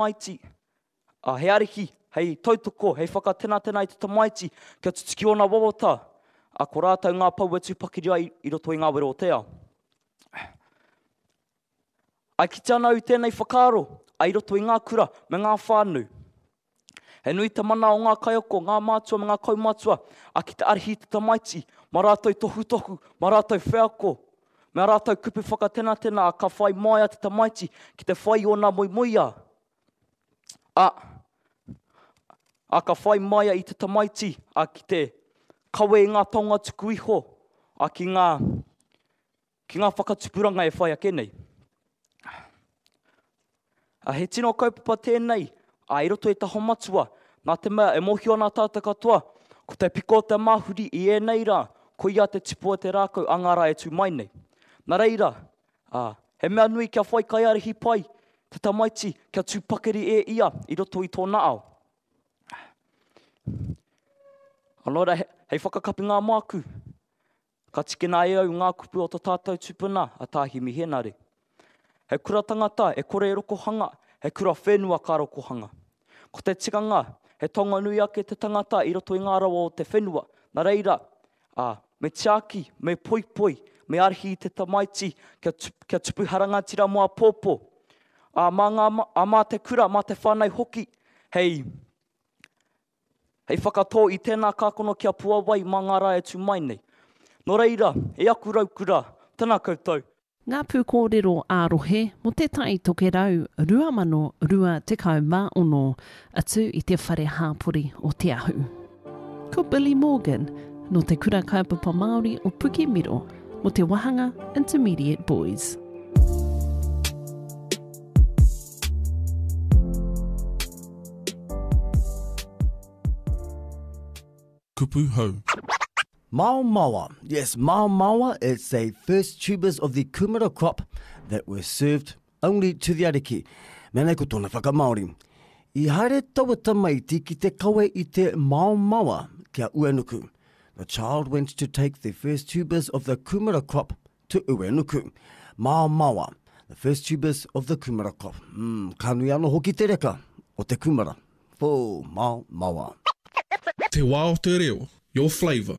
Tamaiti, ā, he ariki hei tautoko, hei whakatenatena i te tamaiti kia tutuki ōna wawata, ā, ko rātou ngā pou e tū pakiri ai i roto i ngā wero o te ao. I kite ana au i tēnei whakaaro, ā, i roto i ngā kura me ngā whānau. He nui te mana o ngā kaiako, ngā mātua me ngā kaumātua, ā, ki te ārahi i te tamaiti, mā rātou tohutohu, mā rātou wheako, me ā rātou kupu whakatenatena, ā, ka whai māia te tamaiti ki te whai i ōna moemoeā, ā, ā, ka whai māia i te tamaiti, ā, ki te kawe i ngā taonga tuku iho, ā, ki ngā, ki ngā whakatupuranga e whai ake nei. A, he tino kaupapa tēnei, a, i roto i Taho Matua, nā te mea e mōhio ana tātou katoa, ko te piko o te māhuri i ēnei rā, koia te tipu o te rākau a ngā rā e tū mai nei. Nā reira, a, he mea nui kia whai kaiārahi pai te tamaiti kia tū pakari e ia i roto i tōna ao. Nō reira, hei whakakapinga māku, Ka tikina e au ngā kupu o to tātou tupuna a Tā Himi Henare. He kura tangata e kore e rokohanga, he kura whenua ka rokohanga. Ko te tikanga, he taonga nui ake te tangata i roto i ngā rawa o te whenua, na reira, ā, me tiaki, me poipoi, me ārahi i te tamaiti kia, kia tupu harangatira mō āpōpō. Ā, mā ngā, ā, mā te kura, mā te whānau hoki, hei, Hei whakatō i tēnā kākono kia puawai mā ngā rā e tū mai nei. Nō reira, e aku raukura, tēnā koutou. Ngā pūkōrero ā-rohe mō Te Tai Tokerau 2026, atu i te Whare Hāpori o Te Ahu. Ko Billy Morgan, nō Te Kura Kaupapa Māori o Pukemiro, mō te wāhanga Intermediate Boys. Kupu hou. Maomaoa. Yes, maomaoa, it's a first tubers of the kumara crop that were served only to the ariki. Me nei ko tōna whakamāori. I haere taua tamaiti ki te kawe i te maomaoa ki a Uenuku. The child went to take the first tubers of the kumara crop to Uenuku. Maomaoa, the first tubers of the kumara crop. Mm, ka nui anō hoki te reka o te kumara. Whoo, maomaoa. Te wā o te reo, your flavour.